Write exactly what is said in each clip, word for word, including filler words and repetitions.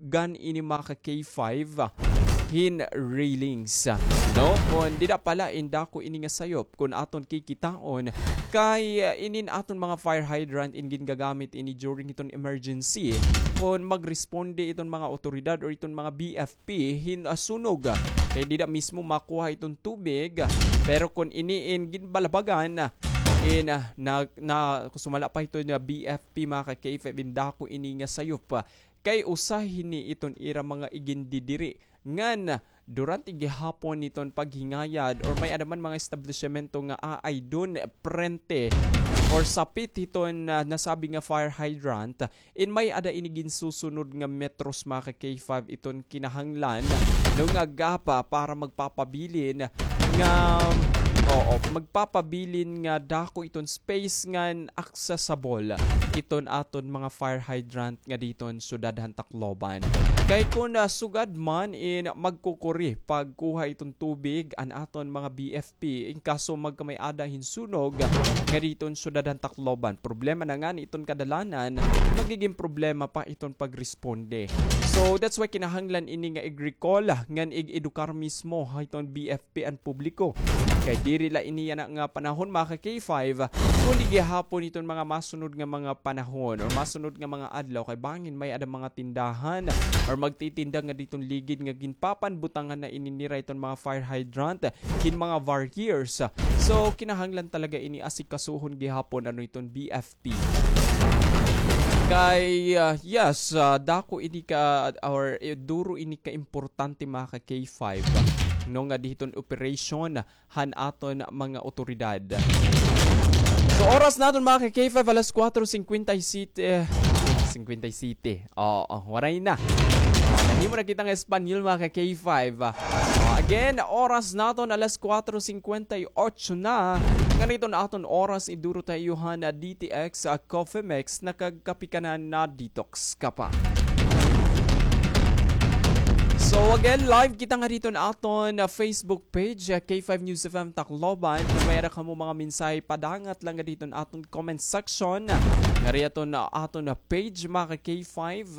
gan ini, mga ka-K five, hin railings. No? Kon dida pa la in dako ini nga sayop, kon aton kikitaon, kay, uh, inin aton mga fire hydrant in gingagamit ini during iton emergency, kon magresponde iton mga awtoridad or iton mga B F P hin, ah, sunog. Kay dida mismo makuha iton tubig, pero kon ini in ginbalabagan, in, ah, na, na, sumala pa hiton B F P, mga ka-K five, in dako ini nga sayop. Kay usa hini iton ira mga igindidiri ngan durante gihapon niton paghingayad or may-ada man mga establisyemento nga aay dun prente or sapit hiton, ah, nasabi nga fire hydrant, in may-ada ini ginsusunod nga metros, mga ka-K five, iton kinahanglan, no, nga gapa para magpapabilin nga, oo, magpapabilin nga dako iton space ngan accessible iton aton mga fire hydrant nga diton syudad han Tacloban. Kay kon, ah, sugad man in magkukuri pagkuha iton tubig an aton mga B F P, in kaso magkamay-ada hin sunog nga diton syudad han Tacloban. Problema na ngani iton kadalanan, magigin problema pa iton pagresponde. So, that's why kinahanglan ini nga ig-recall ngan ig-edukar mismo hiton B F P an publiko. Kay diri la ini yana nga panahon, mga ka-K five, kundi gihapon iton mga masunod nga mga panahon or masunod nga mga adlaw, kay bangin may-ada mga tindahan or magtitinda nga diton ligid nga ginpapanbutangan na ini nira iton mga fire hydrant hin mga barriers. So, kinahanglan talaga ini asikasuhon gihapon, ano, iton B F P. Kay, ah, yes, ah, dako ini ka, or, eh, duro ini ka importante, mga ka-K five, no, nga diton operation han aton mga otoridad. So, oras naton, mga ka-K five, alas kuwatro singkwenta y siyete, singkwenta y siyete. Oo, waray na. Nahimo na kita nga Espanyol, mga ka-K five. Ah, again, oras naton alas kuwatro singkwenta y otso na. Ngan iton aton oras, iduro ta ha iyo han D T X, ah, Coffee Mix, nakagkape ka na, na-detox ka pa. So again, live kita nga diton aton, ah, Facebook page, ah, K five News F M Tacloban. Kon may-ada kamo mga mensahe, padangat lang nga diton aton comment section. Ngari aton, ah, aton, ah, page, mga ka-K five.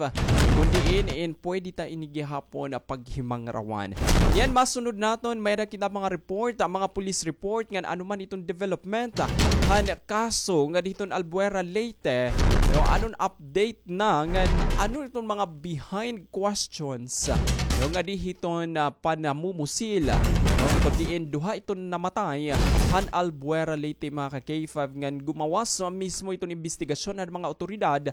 Kon diin, in pwede ta ini gihapon, ah, paghimangrawan. Yan, masunod naton, may-ada kita mga report, ah, mga police report, ngan ano man iton development, ah, han kaso nga diton Albuera, Leyte. No, anon update na ngan ano iton mga behind questions, no, nga di hiton, ah, panamumusil, no, kon diin duha iton namatay han Albuera, Leyte, mga ka-K five, ngan gumawas mismo iton imbestigasyon han mga awtoridad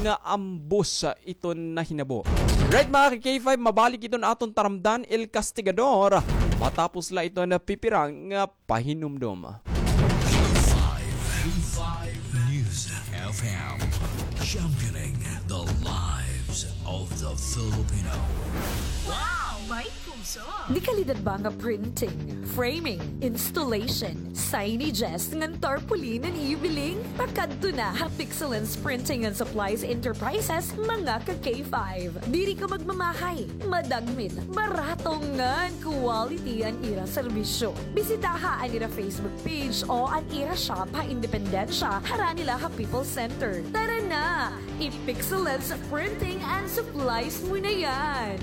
nga ambos, ah, iton nahinabo. Right, mga ka-K five, mabalik iton aton taramdan, El Castigador, matapos la iton pipira nga pahinumdom. K five News F M, championing the lives of the Filipino. Wow! May puso! Dekalidad ba nga printing, framing, installation, signages, ngan tarpaulin an iyo biling? Pakadto na ha Pixelens Printing and Supplies Enterprises, mga ka-K five. Diri ka magmamahay, madagmit, barato ngan quality an ira serbisyo. Bisitaha an ira Facebook page o an ira shop ha Independencia, harani la ha People's Center. Tara na! I-Pixelens Printing and Supplies mo na yan!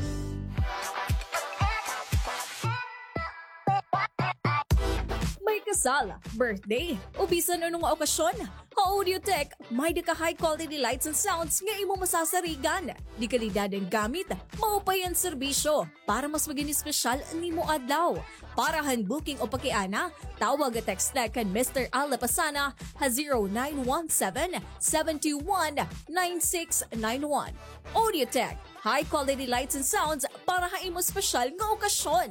May kasal, birthday, o bisan ano nga okasyon, ha Audiotech, may-ada ka high quality lights and sounds nga imo masasarigan. Dekalidad an gamit, maupay an serbisyo, para mas magin espesyal an imo adlaw. Para han booking o pakiana, tawag o text na kan Mister Al Lapasana ha zero nine one seven, seven two one, nine six nine one. Audiotech, high quality lights and sounds para ha imo espesyal nga okasyon.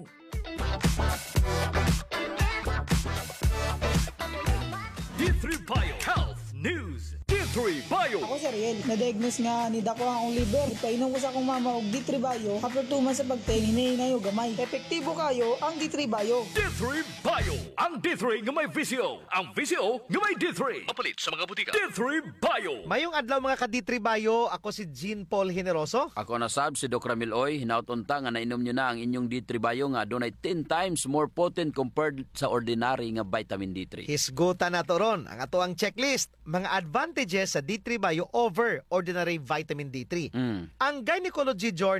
D three Bio Health News. D three Bio. Ako si Ariel. Na-diagnose nga nidako an akon liver. Ipainom ko sa akon mama og D three Bio. After two months sa pagtaim, hinay-hinay og gamay. Epektibo kaayo ang D three Bio. D three Bio. Ang D three nga may V C O. Ang V C O nga may D three. Mapalit sa mga butika. D three Bio. Mayong adlaw, mga ka-D three Bio. Ako si Jean Paul Generoso. Ako na sab si Doc Ramil Oy. Hinaot unta nga nainom niyo na ang inyong D three Bio nga adunay ten times more potent compared sa ordinary nga vitamin D three. Hisgutan nato ron ang atoang checklist, mga advantages sa D three Bio over ordinary vitamin D three. Mm. Ang Gynecology Journal